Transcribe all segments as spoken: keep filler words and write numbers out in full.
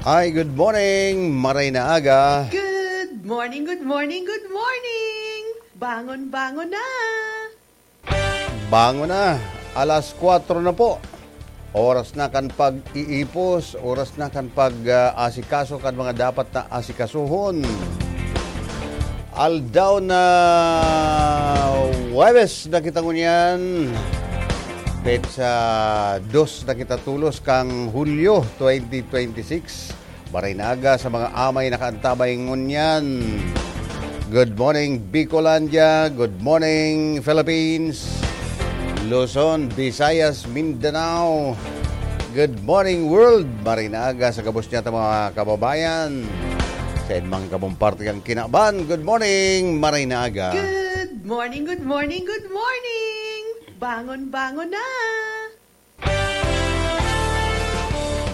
Ay, good morning, maray na aga. Good morning, good morning, good morning! Bangon, bangon na! Bangon na! Alas kwatro na po. Oras na kan pag-iipos, oras na kan pag, ah, asikaso kan mga dapat na asikasuhon. Aldaw na Huwebes na kita ngunyan. Petsa dos na kita tolos kan Hulyo twenty twenty-six. Maray na aga sa mga amay nakaantabay ngunyan. Good morning, Bicolandia. Good morning, Philippines. Luzon, Visayas, Mindanao. Good morning, world. Maray na aga sa gabos niya ta mga kababayan. Sa inmang kabong parte kan kinaban, good morning, maray na aga. Good morning, good morning, good morning! Bangon, bangon na!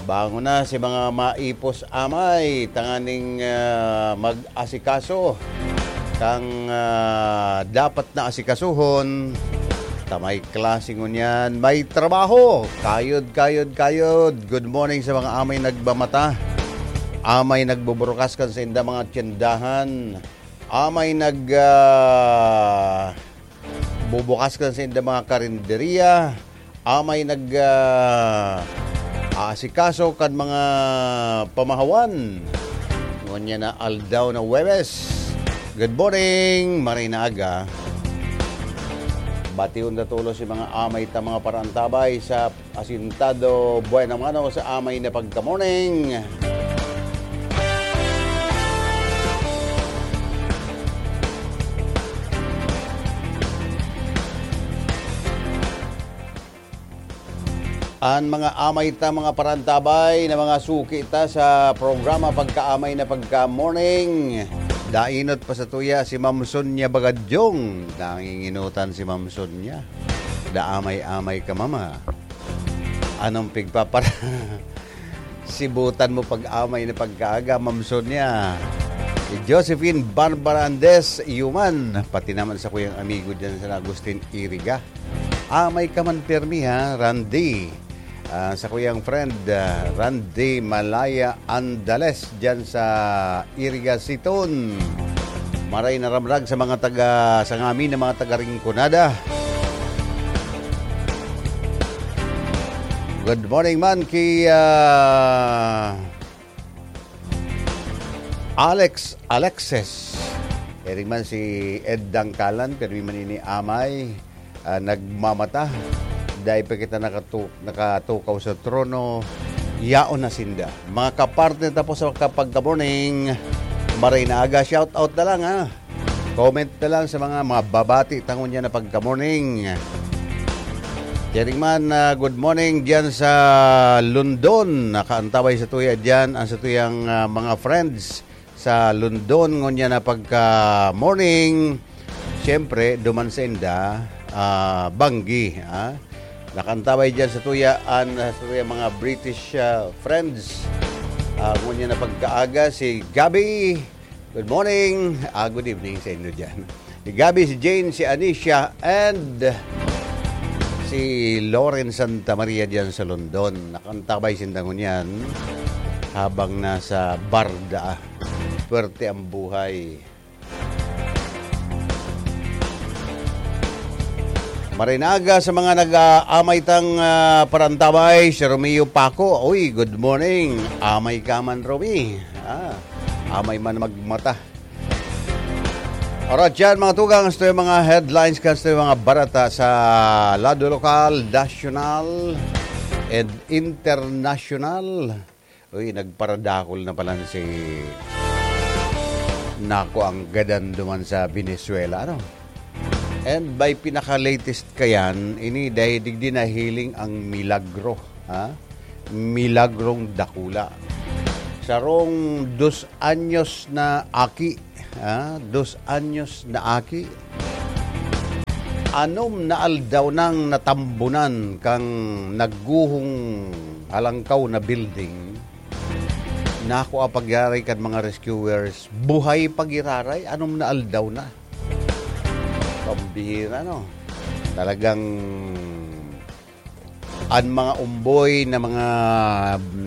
Bangon na si mga maipos amay, tanganing, ah, mag-asikaso kang, ah, dapat na asikasuhon. Ta may klase ngunyan, may trabaho. Kayod, kayod, kayod. Good morning sa mga amay nagmamata. Amay nagbuburukas kan sainda mga tiyandahan. Amay nag, ah, bubukas kan sainda mga karinderya. Amay nag, ah, aasikaso kan mga pamahawan. Ngunyan na aldaw na Huwebes. Good morning, maray na aga. Bation ta tolos si mga amay ta mga paraantabay sa Asintado, buena mano sa amay na pagka-morning. An mga amay ta, mga parantabay na mga suki ta sa programa Pagkaamay na Pagka-Morning. Dainot pa sa tuya si Ma'am Sonia Bagadyong. Nanginginutan si Ma'am Sonia. Daamay-amay ka, mama. Anong pigpapara-, sibutan mo pag-amay na pagkaaga, Ma'am Sonia? Si Josephine Barbara Andes, Yuman, pati naman sa kuyang amigo dyan sa Agustin Iriga. Amay ka man pirmi, ha, Randy. Ah, sa kuyang friend, ah, Randy Malaya Andales dyan sa Iriga Siton. Maray na ramrag sa mga taga, sa ngamin na mga taga Rinconada. Good morning man ki, ah, Alex Alexis. Ering man si Ed Dangkalan, pero man ini amay, ah, nagmamata. Dai pa kita nakatu-, nakatukaw sa trono, yaon na sinda. Mga kapartner ta po sa kapagka-morning, maray na aga, shout out na lang, ha. Comment na lang sa mga, mga babati ta ngunyan na pagka-morning. Kering man, ah, good morning diyan sa London. Nakaantabay sa tuya diyan ang sa tuyang, ah, mga friends sa London ngunyan na pagka-morning. Siyempre, duman sa inda, ah, Banggi, ah. Nakaantabay diyan sa tuya an, ah, sa tuyang mga British, ah, friends. Ah, ngunyan na pagkaaga si Gabby. Good morning. Ah, good evening sa inyo diyan. Si Gabby, si Jane, si Anisha, and si Lauren Santa Maria diyan sa London. Nakaantabay sinda ngunyan habang nasa barda. Swerte ang buhay. Maray na aga sa mga nag-aamay tang, ah, parantabay, si Romeo Paco. Uy, good morning. Amay ka man, Romy. Ah, amay man magmata. Alright, yan, mga tugang, ito yung mga headlines kan ito yung mga barata sa lado lokal, nasyonal, and international. Uy, nagparadakol na pala si Nako ang gadan duman sa Venezuela, ano? And by pinaka-latest kayan, ini dahil digdi nahiling ang milagro, ha? Milagrong dakula. Sarong dos anyos na aki, ha? Dos anyos na aki. Anom na aldaw nang natambunan kang nagguhong halangkaw na building. Nako, ah, pag-iyaray kan mga rescuers, buhay pag-iraray, anom na aldaw na. Pambihira, no? Talagang an mga umboy na mga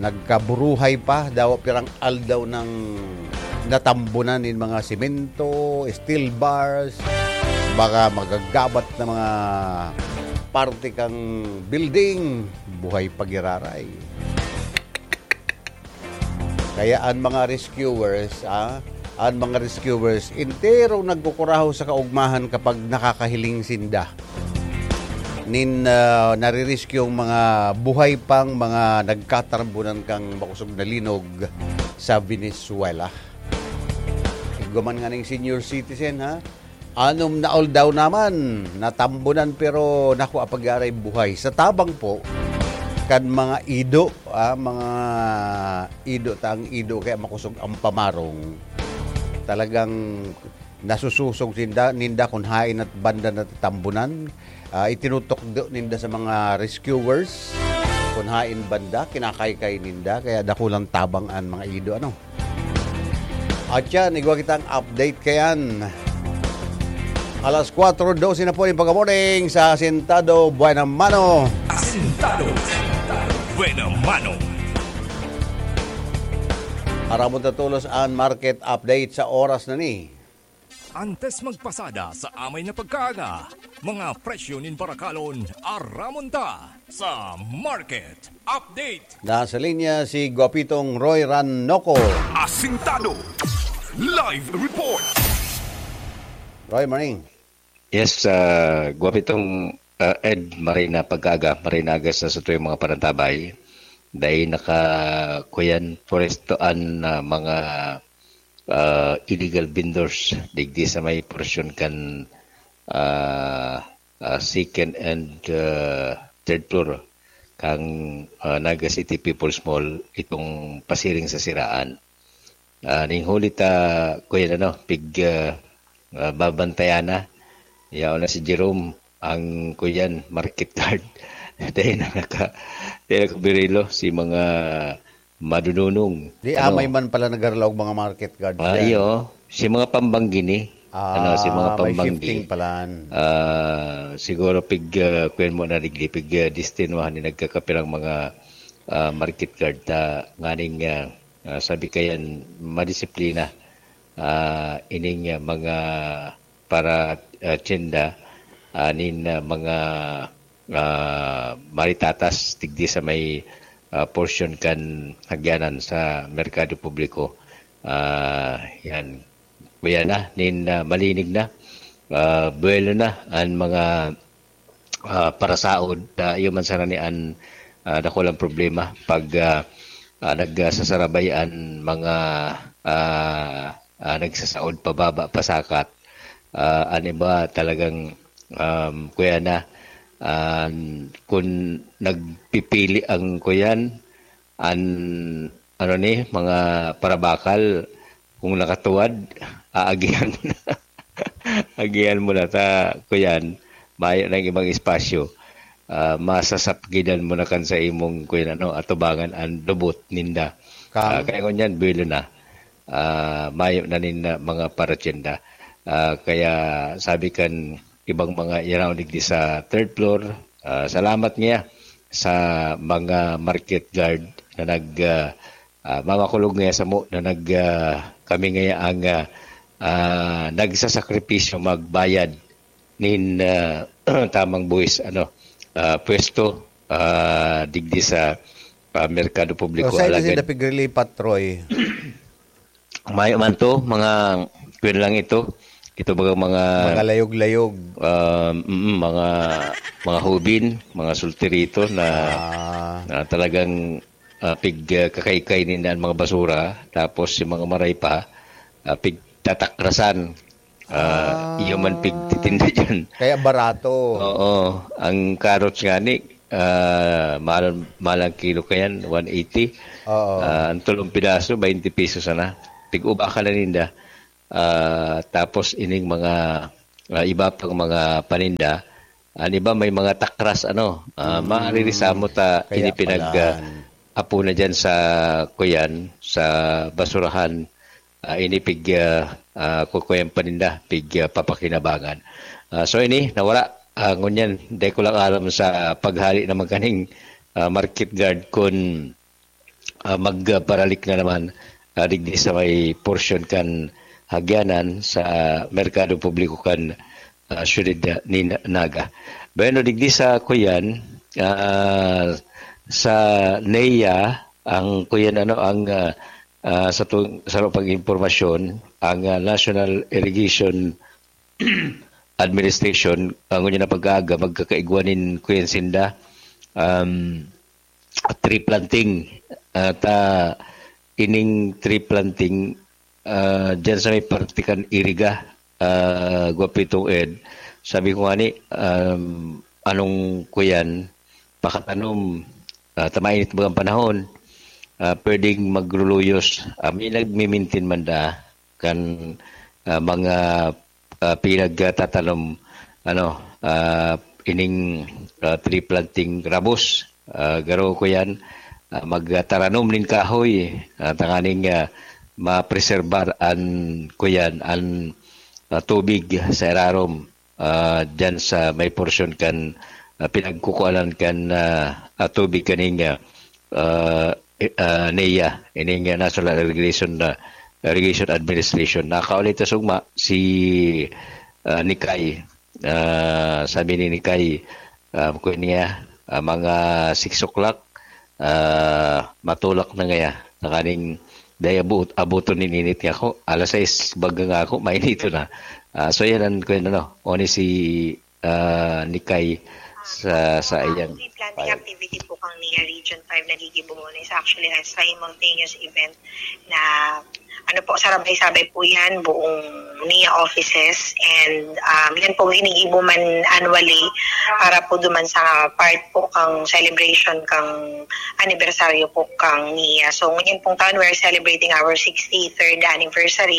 Nagkaburuhay pa, dawa pirang aldaw nang natambunan nin mga semento, steel bars, mga magagabat na mga parte kang building, buhay pa giraray. Kaya an mga rescuers, ah, an mga rescuers, enterong nagkukurahaw sa kaugmahan kapag nakakahiling sinda nin, ah, nare-rescue ang mga buhay pang mga nagkatarbunan kan makosog na linog sa Venezuela. Igwa man nganing senior citizen, ha? Anom na aldaw naman, natambunan pero nakua pa giraray buhay. Sa tabang po kan mga ido, ah, mga ido, ta ang ido kaya makosog ang pamarong. Talagang nasususog sinda, ninda kung hain at banda natatambunan. Ah, itinutukdo ninda sa mga rescuers kung hain banda, kinakaykay ninda, kaya dakulang tabang an mga ido, ano. At yan, igwa kitang update kayan. Alas kwatro dose na po yung pagka-morning sa Asintado Buena Mano. Asintado Buena Mano. Aramon ta tolos an market update sa oras na ni. Antes magpasada sa amay na pagkaaga, mga presyo nin barakalon, aramon ta sa market update. Nasa linya si Guapitong Roy Ranoco. Asintado. Live report. Roy, morning. Yes, ah, Guapitong, ah, Ed, marhay na pagkaaga, marhay na aga sa satuyang mga panantabay. Dai naka, kuyan, pwesto an, ah, mga, ah, illegal vendors digdi sa may porsyon kan, ah, ah, second and, ah, third floor kang, ah, Naga City People's Mall, itong pasiring sa siraan. Ah, ning huli ta, kuyan, ano, pig, ah, ah, babantayan na. Yaon na si Jerome, ang kuyan, market guard. Dai na naka-, dai nakabirilo si mga madununong. Di, ano, amay man pala nagarlaog mga market guard Ah, dyan. Iyo. Si mga pambanggi ni. Ah, Ano, si mga may pambanggi. Shifting palan. Ah, siguro pig, ah, kuyan mo na digdi, pig, ah, destinuhan ni nagkakapirang mga, ah, market guard ta nganing, ah, ah, sabi kayan, madisiplina. Ah, ining, ah, mga para, ah, tienda, ah, nin, ah, mga, ah, maritatas digdi sa may, ah, porsyon kan hagyanan sa merkado publiko. Ah, yan. Kuya na, nin, ah, malinig na. Ah, buwelo na an mga, ah, parasaod. Ah, iyo man sana ni an, ah, dakulang problema pag, ah, ah, nagsasarabay an mga, ah, ah, nagsasaod pababa, pasakat. Ah, an iba talagang, um, kuya na, an, kun nagpipili ang kuyan, an, ano ni, mga parabakal, kung nakatuwad, aagihan mo na. Agihan mo na ta, kuyan, mayo nang ibang espasyo. Ah, masasapgidan mo na kan sa imong, kuyan, ano, atubangan an lubot ninda. Kang Ah, kaya ngunyan, buwelo na. Ah, mayo na nin, ah, mga paratyenda. Ah, kaya sabi kan ibang mga iraw digdi sa third floor, ah, salamat niya sa mga market guard na nag, ah, ah, mamakulog ngaya samo na nag, ah, kami ngaya ang, ah, ah, nagsasakripisyo magbayad nin, ah, tamang buhis, ano, ah, pwesto, ah, digdi sa, ah, merkado publiko. So, saan kasi Alagad dapig relipat, Troy? Mayo man to, mga, kuwan lang ito. Ito baga mga Mga layog-layog. Ah, mm, mga, mga hubin, mga sultirito na, Ah. na talagang, ah, pig, ah, kakaykay ninda ang mga basura, tapos yung mga maray pa, ah, pigtatakrasan. Ah, Ah. iyo man pigtitinda dyan. Kaya barato. Oo. Ang carrots nga ni, ah, mahal, mahal ang kilo kayan, one eighty. Oo. Ah, ang tulong pidaso, twenty pesos sana. Pig-uba ka na ninda. Ah, tapos ining mga, ah, iba pang mga paninda, an iba may mga takras, ano, ah, Mm. maaririsamot, ah, Kaya ini pinag, pala. ah, apo na dyan sa, kuyan, sa basurahan, ah, ini pig, ah, ah, kukuyan paninda, pig, ah, papakinabangan. Ah, so ini, nawara, ah, ngunyan, dai ko lang alam sa paghali naman kaning, ah, market guard kun ah, magparalik na naman, ah, digdi sa may porsyon kan Hagyanan sa merkado publiko kan, ah, siyudad ni Na-, Naga. Bueno, digdi sa kuyan, ah, sa NEA, ang kuyan, ano, ang, ah, ah, sa tu-, sa pag-impormasyon, ang, ah, National Irrigation Administration, ang ngunyan na pag-aaga, magkakaigwa nin kuyan sinda, um, tree planting. At, ah, ining tree planting, ah, dyan sa may parte kan Iriga, ah, Guapitong Ed, sabi ko nga ni, um, anong kuyan, pakatanom, ah, ta mainit bagang panahon, ah, pwedeng magruluyos. Ah, may nagmimintin man da kan, ah, mga, ah, pinagtatanom, ano, ah, ining, ah, tree planting rabos. Ah, garo ko yan, ah, magtaranom nin kahoy, ah, tanganing, ah, mapreserbar an, kuyan, an, ah, tubig sa irarom, ah, dyan sa may porsyon kan, ah, pinagkukuanan kan, ah, ah, tubig kaning, ah, ah, eh, ah, NEA, ining, ah, National Irrigation, ah, Irrigation Administration. Nakaulit sa sugma, si, ah, Nikay. Ah, sabi ni Nikay, ah, kung niya, ah, mga six o'clock, ah, matulak na ngaya. Nakaning daya buot, abuton nin init nga ako. Alas sais baga nga ako, mainito na. Ah, so yan ang, kung ano, oni si, ah, Nikay sa, sa iyang Ang planting file. Activity po kang NEA Region five na gigibo muna is actually a simultaneous event na, ano po, sarabay-sabay po yan, buong NEA offices, and, um, yan po ginigibo man annually para po duman sa part po kang celebration kang anibersaryo po kang NEA. So, ngunyan pong taon, we're celebrating our sixty-third anniversary,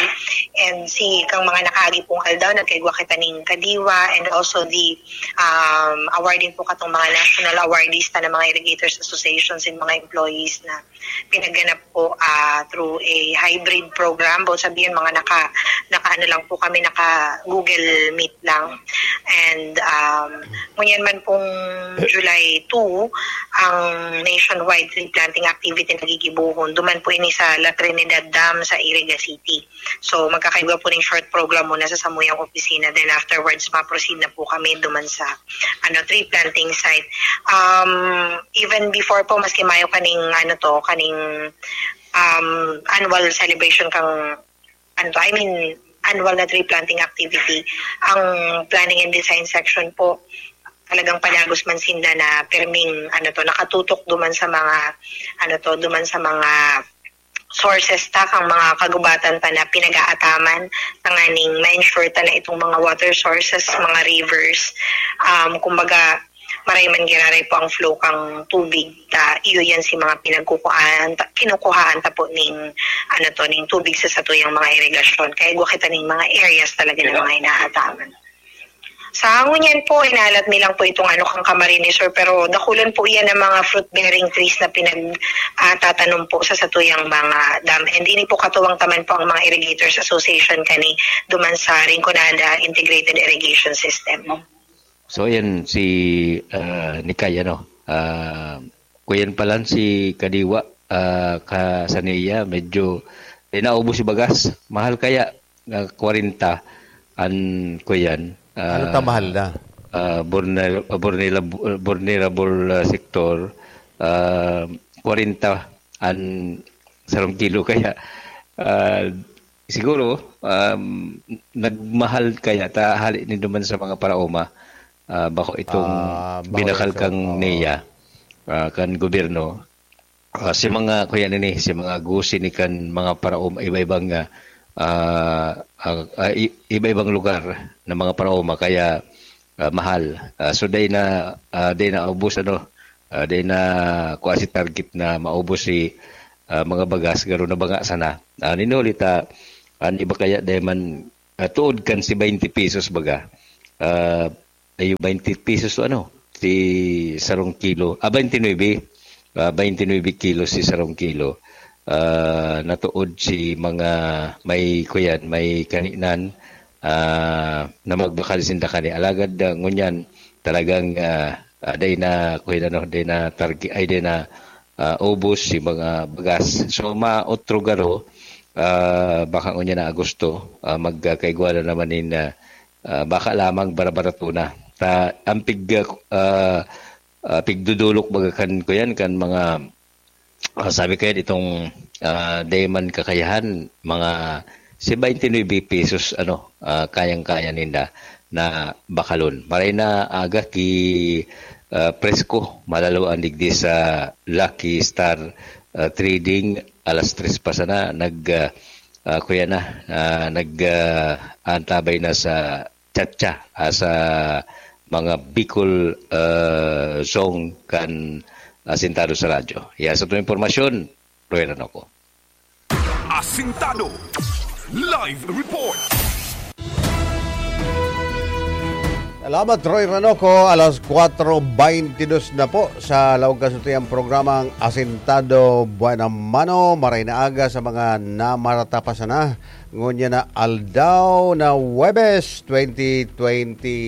and si kang mga nakaagi pong aldaw, nagkaigwa kita ning kadiwa, and also the, um, awarding po katong mga national awardees ta na mga irrigators associations and mga employees na pinaganap po, ah, through a hybrid program. Both sabihin, mga naka, naka ano lang po kami, naka Google Meet lang. And, um, ngunyan man pong July two, ang nationwide tree planting activity na gigibohon. Duman po ini sa La Trinidad Dam sa Iriga City. So, magkakaigwa po ning short program muna sa samuyang opisina. Then afterwards, ma-proceed na po kami duman sa, ano, tree planting site. Um, even before po, maski mayo kaning, ano to, kaning, um, annual celebration kang, ano to, I mean, annual na tree planting activity, ang planning and design section po, talagang padagos man sinda na perming, ano to, nakatutok duman sa mga, ano to, duman sa mga sources ta, kang mga kagubatan ta na pinag-aataman, tanganing ma-ensure ta na itong mga water sources, mga rivers, um, kumbaga, maray man giraray po ang flow kang tubig, ta iyo yan si mga pinagkukuhaan, ta, kinukuhaan ta po ning, ano to, ning tubig sa satuyang mga irigasyon. Kaya igwa kita ning mga areas talaga na mga inaataman. Sa ngunyan po, inalat mi lang po itong ano kang Camarines Sur, pero dakulan po iyan ang mga fruit-bearing trees na pinag, ah, tatanom po sa satuyang mga dam. And ini po katuwang taman po ang mga Irrigators Association kani duman sa Rinconada Integrated Irrigation System. So, ayan, si, ah, Nikay, ano, ah, kuyan pa lang si Kadiwa, ah, ka, sa niya, medyo, eh, naubos si bagas. Mahal kaya, ah, kwarenta an kuyan, Ano ta ah, mahal na? ah, vulner-, vulnerab-, vulnerable, ah, sector, ah, kwarenta an sarong kilo. Kaya, ah, siguro, um, nagmahal kaya ta hali ni duman sa mga paraoma, ah, bako itong Ah, bako binakal ito. kang Oo. niya, ah, kan gobyerno. Ah, si mga, kuya nini, si mga gusi ni kan mga paraoma, iba-ibang, ah, ah, ah, ah, i-, iba-ibang lugar na mga paraoma, kaya, ah, mahal. Ah, so, day na, ah, day na ubos, ano, ah, day na kuha si target na maubos si, ah, mga bagas, garo na banga sana. Ah, ninuli ta, an iba kaya day man, ah, tuod kan si twenty pesos baga. Ah, ayo, twenty pesos to, ano, si sarong kilo. Ah, twenty-nine. Ah, twenty-nine kilo si sarong kilo. Ah, natuod si mga may kuyan, may kaninan, ah, na magbakal sinda kani. Alagad, ah, ngunyan, talagang, ah, ah, day na, kuyan, ano, day na targi-, ay, day na, ah, ubos, si mga bagas. So, maotro garo, ah, baka ngunyan na Agosto, ah, magkaigwa na naman nin, ah, ah, baka lamang barabarato na. Ta, ang pig, ah, ah, pigdudulok baga kan, kuyan, kan mga, ah, sabi kaya itong, ah, dayman kakayahan, mga si twenty-nine pesos, ano, ah, kayang-kaya ninda na bakalon. Maray na aga ki, ah, presko, malalo ang digdi sa Lucky Star, ah, Trading, alas tres pa sana, nag, ah, ah, kuya na, ah, nag, ah, antabay na sa chatcha, ah, sa mga Bicol, ah, song kan asintado sa radyo. Yan sa itong impormasyon, Roy Ranoco. Asintado. Live report. Salamat, Roy Ranoco. Alas kwatro beintidos na po sa laog kasutuyang programang Asintado Buena Mano. Maray na aga sa mga namarata pa sana. Ngunyan na aldaw na Huwebes, twenty twenty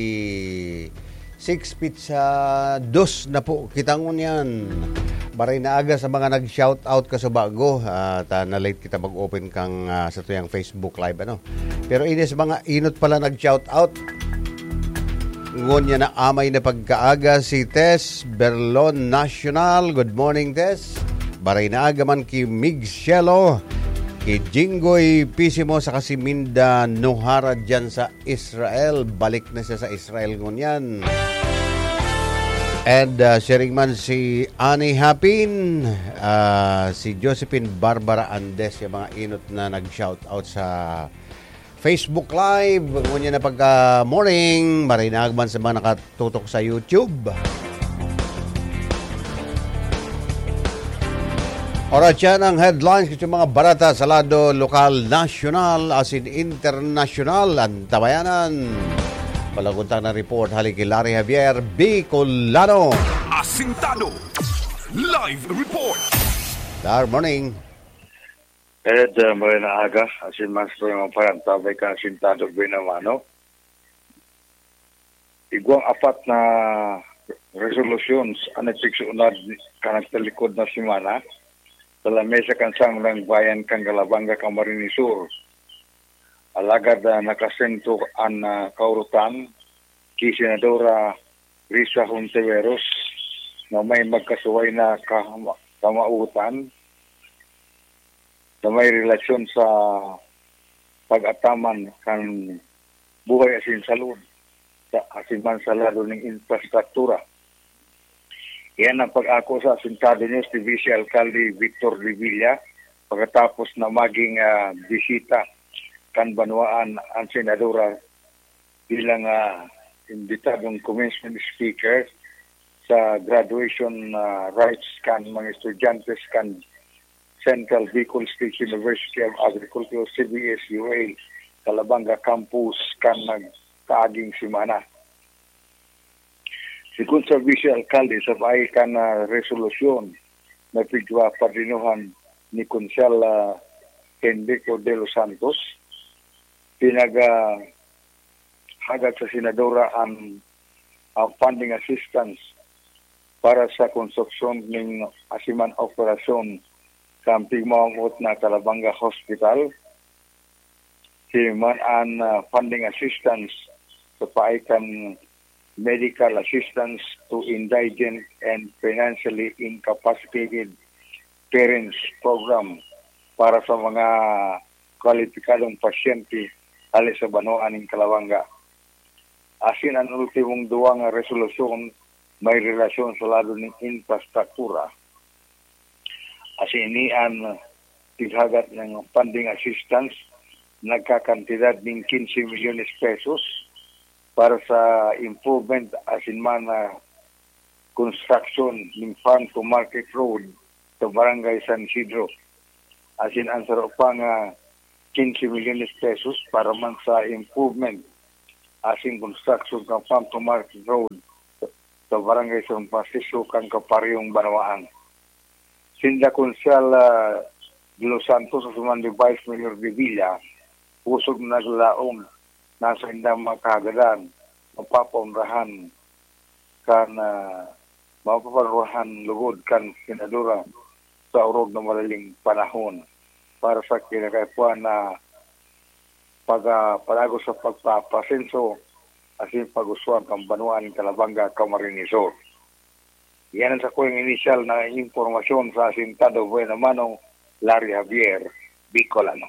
six, pitsa dos na po kita ngunyan. Maray na aga sa mga nag-shout out kasubago. Ah, ta na-late kita mag-open kang, ah, sa tuyang Facebook Live, ano. Pero ini sa mga inot pala nag-shout out. Ngunyan na amay na pagkaaga si Tess Berlon National. Good morning, Tess. Maray na aga man ki Mig Cielo, ki Jinggoy Pisimo, saka si Minda Nohara dyan sa Israel. Balik na siya sa Israel ngunyan. And, ah, sharing man si Annie Hapin, ah, si Josephine Barbara Andes, yung mga inot na nag-shout out sa Facebook Live. Ngunyan na pagka morning, maray na aga man sa mga nakatutok sa YouTube. Oras yan ang headlines sa mga barata sa lado lokal, nasyonal, asin internasyonal. Antabayanan. Palaguntang na report, hali ki Larry Javier, Bicolano. Asintado. Live report. Good morning. Ed, uh, maray na aga, asin mas pa yung parantabay ka asintado binamano. Igwang apat na resolutions ang nagpigsuunad ka nagtalikod na semana sa lamesa kan Sangguniang Bayan kan Calabanga, Camarines Sur. Alagad, ah, nakasentro an, ah, kaurutan ki Senadora Risa Hontiveros na may magkasuway na kahama-, kamautan na may relasyon sa pag-ataman kan buhay asin salud sa asin man sa lado ning infrastruktura. Iyan ang pag-ako sa asintado niya si Vice Alcalde Victor Revilla pagkatapos na maging, ah, bisita kan banwaan ang senadora bilang, ah, imbitadong commencement speaker sa graduation, ah, rites kan mga estudyante kan Central Bicol State University of Agriculture, C B S U A, Calabanga Campus kan nagkaaging semana. Sigon sa Vice Alcalde, sa paagi kan, ah, resolusyon na pigpapadinohan ni Konsehal, ah, Henrico De Los Santos, pinag, ah, hagad sa senadora ang, ang funding assistance para sa konstruksyon ning asiman operasyon sa pigmamamot na Calabanga Hospital. Siman an, ah, funding assistance sa paagi kan medical assistance to indigent and financially incapacitated parents program para sa mga kwalipikadong pasyente hali sa banwaan nin Calabanga. Asin an ultimong duwa nga resolusyon may relasyon sa lado nin infrastruktura. Asin ini an pighagat nin funding assistance, nagkakantidad nin quince milyones pesos para sa improvement asin man na construction nin farm to market road sa Barangay San Isidro. Asin an saro pa nga quince milyones pesos para man sa improvement asin construction kan farm to market road sa Barangay San Francisco kan kaparehong banwaan. Sinda Konsehal, ah, De Los Santos asin man si Vice Mayor Revilla, pusog na naglaom na saindang mga kahagadan mapapaonrahan kan, ah, mapaparuhan lugod kan senadora sa orog na madaling panahon para sa kinakaipuhan na pag, ah, pag-agos sa pagpapasenso asin pag-uswag kan banwaan nin Calabanga, Camarines Sur. Yan ang sakuyang inisyal na impormasyon sa Asintado. Buena mano, Larry Javier, Bicolano.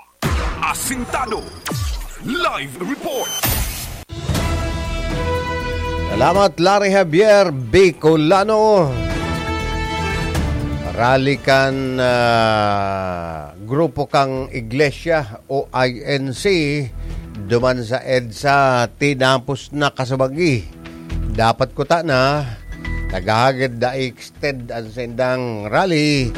Asintado Live Report. Salamat, Larry Javier Bicolano. Rally kan ah, grupo kang iglesia o I N C duman sa EDSA tinapos na kasabagi. Dapat kuta na, naghahagad na i-extend ang saindang rally.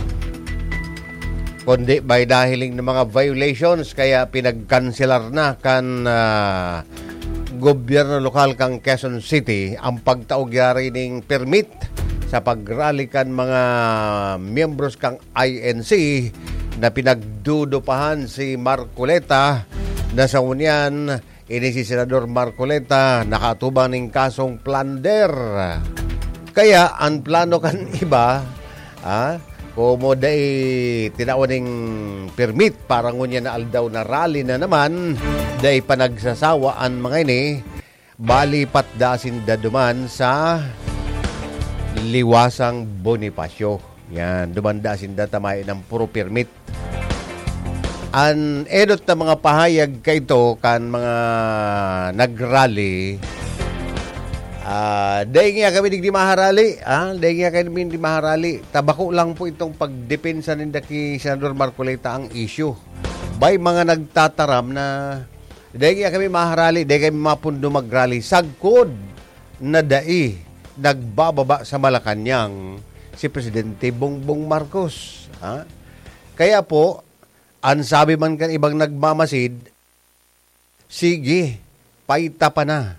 Kundi may nahiling na mga violations kaya pinagkanselar na kan ah, gobyerno lokal kang Quezon City ang pagtao gyari ning permit sa pagrally kan mga miyembros kang I N C na pinagdudupahan si Marcoleta na sa ngunyan ini si Senador Marcoleta nakaatubang ning kasong plunder. Kaya ang plano kan iba, ah, komo dai tinawan ning permit para ngunyan na aldaw na rally na naman, dai pa nagsasawa an mga ini, bali patda sinda duman sa Liwasang Bonifacio. Yan, dumanda sinda ta mayo nang puro permit. An edot na mga pahayag kaito kan mga nagrally, ah, dai niya kami digdi maharali, ah, dai niya kami digdi maharali. Tabako lang po itong pagdepensa ninda ki Senador Marcoleta ang issue. Bay mga nagtataram na dai niya kami maharali, dai kami mapundo magrally. Sagkod na dai nagbababa sa Malacañang si Presidente Bongbong Marcos. Ha? Kaya po, ang sabi man kan ibang nagmamasid, sige, paita pa na.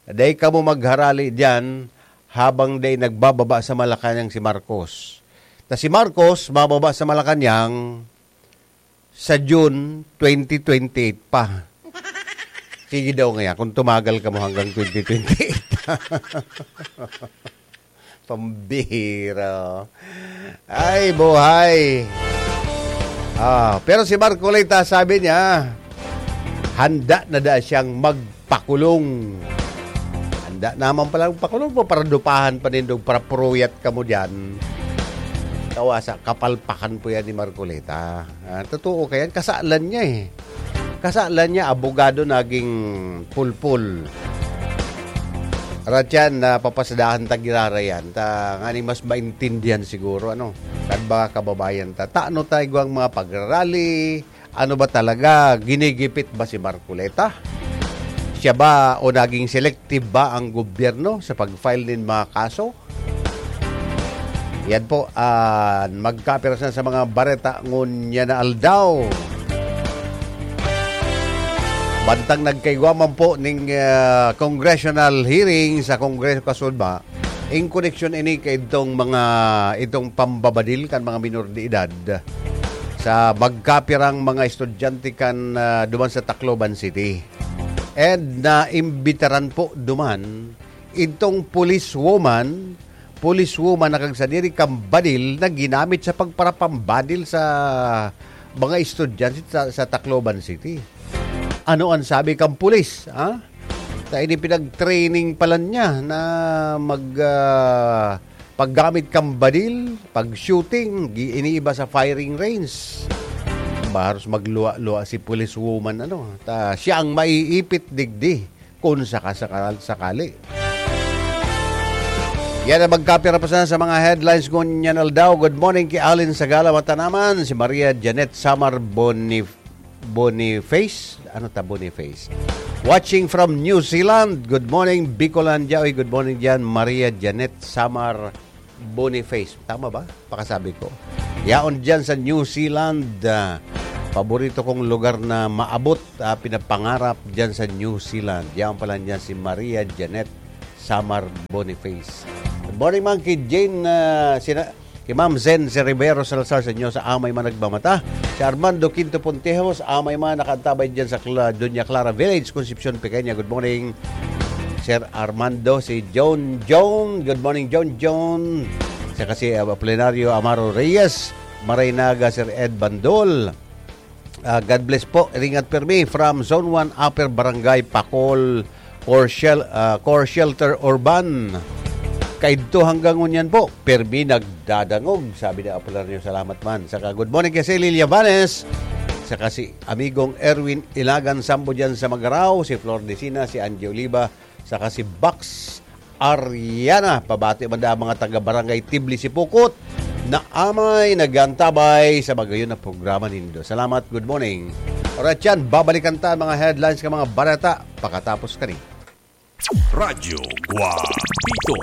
Dai kamo magharali diyan habang dai nagbababa sa Malacañang si Marcos. Ta si Marcos, bababa sa Malacañang, sa June twenty twenty-eight pa. Sige daw ngaya, kung tumagal kamo hanggang twenty twenty-eight. Pambihira. Ay, buhay. Ah, pero si Marcoleta, sabi niya, handa na da siyang magpakulong. Handa naman palang pakulong mo para dupahan pa nindog, para puruyat kamo diyan. Kawasa, kapalpakan po yan ni Marcoleta. Ah, totoo kayan, kasalan niya eh. Kasalan niya, abogado naging pulpul. Ratyan, na papasadahan ta girarayan ta, nganing mas maintindihan siguro, ano, kan mga kababayan ta. Tano tayo ang mga pagrarally, ano ba talaga, ginigipit ba si Marcoleta? Siya ba o naging selective ba ang gobyerno sa pag-file nin mga kaso? Yan po, ah, magkapira sa, sa mga bareta ngunyan na aldaw. Bantang nagkaigwa man po ning ah, congressional hearing sa Kongreso kasunod ba, in koneksyon ini kay itong mga, itong pambabadil kan mga minor de edad sa magkapirang mga estudyante kan ah, duman sa Tacloban City. And naimbitaran po duman itong policewoman, policewoman na kagsadiri kan badil na ginamit sa pagparapambadil sa mga estudyante sa, sa Tacloban City. Ano ang sabi kan pulis, ha? Ta ini pinag-training pala niya na mag ah, paggamit kan badil, pag-shooting, gi- iniiba sa firing range. Baros magluwa-luwa si policewoman, ano, ta siya ang maiipit digdi kung sakasakal sakali. Yan ang magkapira pa sana sa mga headlines ngunyan aldaw. Good morning ki Alin Sagala Matanaman, si Maria Janet Samar Bonif- Boniface. Ano ta, Boniface? Watching from New Zealand. Good morning, Bicolandia. Oy, good morning diyan, Maria Janet Samar Boniface. Tama ba? Pakasabi ko. Yaon diyan sa New Zealand. Ah, paborito kong lugar na maabot, ah, pinapangarap diyan sa New Zealand. Yaon pala diyan si Maria Janet Samar Boniface. Good morning man ki Jane, ah, sina- Ki Ma'am Zen, si Rivero Salazar sa inyo, sa amay man nagmamata. Si Armando Quinto Pontejos, amay man nakaantabay diyan sa Cla- Doña Clara Village, Concepcion, Pequeña. Good morning. Sir Armando, si John John. Good morning, John John. Saka si, uh, Apolinario Amaro Reyes, Maray Naga, Sir Ed Bandol. Ah, God bless po. Ringat permi from Zone one, Upper Barangay Pacol, Core, Shel-, ah, Core Shelter Urban. Kaidto hanggang ngunyan po, permi nagdadangog, sabi ni Apolinario, salamat man. Saka good morning kay Celia Vanes, saka si amigong Erwin Ilagan Sambo dyan sa Magarao, si Flor Decina, si Angie Oliva, saka si Box Ariana. Pabati man da ang mga taga Barangay Tibli, Sipocot, na amay nag-aantabay sa magayon na programa nindo. Salamat, good morning. Alright yan, babalikan ta ang mga headlines ng mga balita pakatapos kani. Radyo Guapito.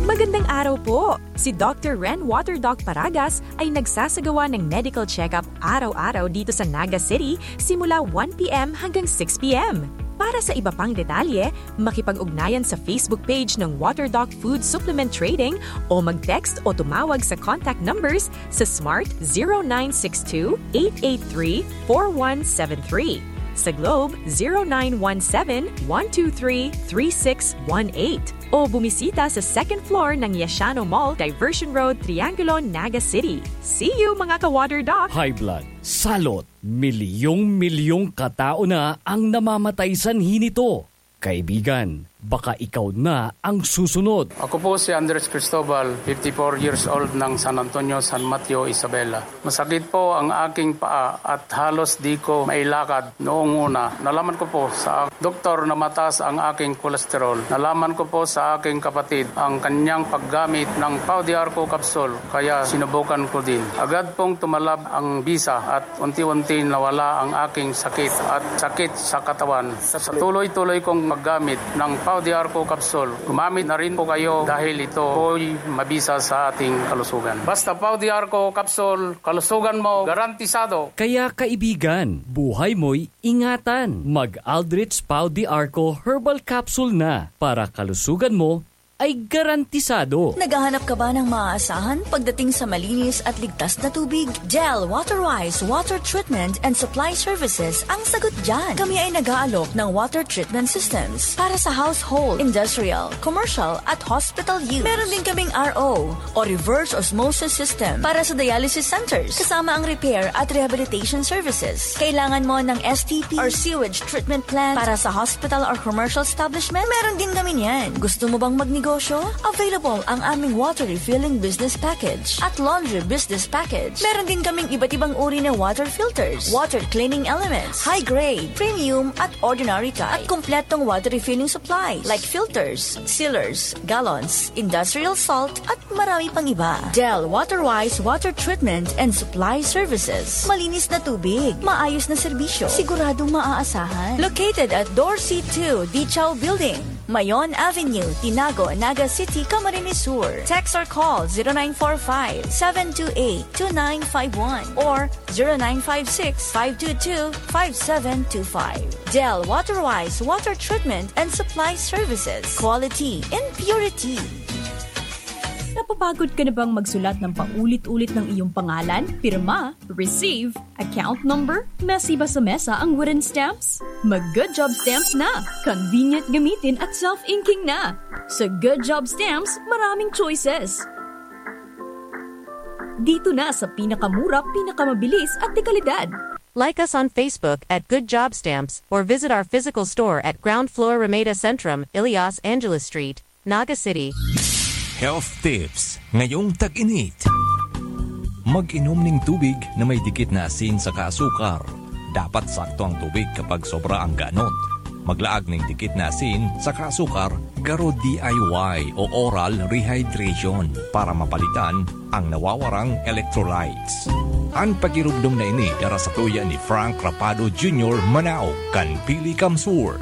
Magandang araw po! Si Doctor Ren Water Doc Paragas ay nagsasagawa ng medical check-up araw-araw dito sa Naga City simula one p m hanggang six p m. Para sa iba pang detalye, makipag-ugnayan sa Facebook page ng Water Doc Food Supplement Trading o mag-text o tumawag sa contact numbers sa Smart zero nine six two, eight eight three, four one seven three, sa Globe zero nine one seven, one two three, three six one eight. O bumisita sa second floor ng Yashano Mall, Diversion Road, Triangulo, Naga City. See you, mga ka-Water Doc! High blood, salot, milyong-milyong katao na ang namamatay sanhi nito. Kaibigan, baka ikaw na ang susunod. Ako po si Andres Cristobal, fifty-four years old ng San Antonio, San Mateo, Isabela. Masakit po ang aking paa at halos di ko mailakad noong una. Nalaman ko po sa doktor na mataas ang aking kolesterol. Nalaman ko po sa aking kapatid ang kanyang paggamit ng Pau de Arco capsule, kaya sinubukan ko din. Agad pong tumalab ang bisa at unti-unti nawala ang aking sakit at sakit sa katawan. Sa tuloy-tuloy kong paggamit ng Pau de Arco capsule, gumamit na rin po kayo dahil ito po'y mabisa sa ating kalusugan. Basta Pau de Arco capsule, kalusugan mo garantisado. Kaya kaibigan, buhay mo'y ingatan. Mag Aldrich Pau de Arco Herbal Capsule na para kalusugan mo ay garantisado. Naghahanap ka ba ng maaasahan pagdating sa malinis at ligtas na tubig? Del Waterwise Water Treatment and Supply Services ang sagot dyan. Kami ay nag-aalok ng water treatment systems para sa household, industrial, commercial at hospital use. Meron din kaming R O o reverse osmosis system para sa dialysis centers, kasama ang repair at rehabilitation services. Kailangan mo ng S T P or sewage treatment plant para sa hospital or commercial establishment? Meron din kami niyan. Gusto mo bang magnegosyo? Available ang aming water refilling business package at laundry business package. Meron din kaming iba't ibang uri na water filters, water cleaning elements, high grade, premium at ordinary type, at kompletong water refilling supplies like filters, sealers, gallons, industrial salt, at marami pang iba. Del Waterwise Water Treatment and Supply Services. Malinis na tubig, maayos na serbisyo, siguradong maaasahan. Located at Dorsey two, Dichaw Building, Mayon Avenue, Tinago, Naga City, Camarines Sur. Text or call zero nine four five, seven two eight, two nine five one or zero nine five six, five two two, five seven two five. Del Waterwise Water Treatment and Supply Services. Quality in purity. Napapagod ka na bang magsulat ng paulit-ulit ng iyong pangalan, pirma, receive, account number, mesiba sa mesa ang wooden stamps? Mag Good Job Stamps na! Convenient gamitin at self-inking na! Sa Good Job Stamps, maraming choices! Dito na sa pinakamura, pinakamabilis at dekalidad. Like us on Facebook at Good Job Stamps or visit our physical store at ground floor Ramada Centrum, Ilias Angeles Street, Naga City. Health Tips ngayong tag-init. Mag-inom ning tubig na may dikit na asin saka asukar. Dapat sakto ang tubig kapag sobra ang ganot. Maglaag ning dikit na asin saka asukar, garo D I Y o oral rehydration para mapalitan ang nawawarang electrolytes. An pagirumdom na ini dara satuya ni Frank Rapado Junior Manao kan Pili Kamsur.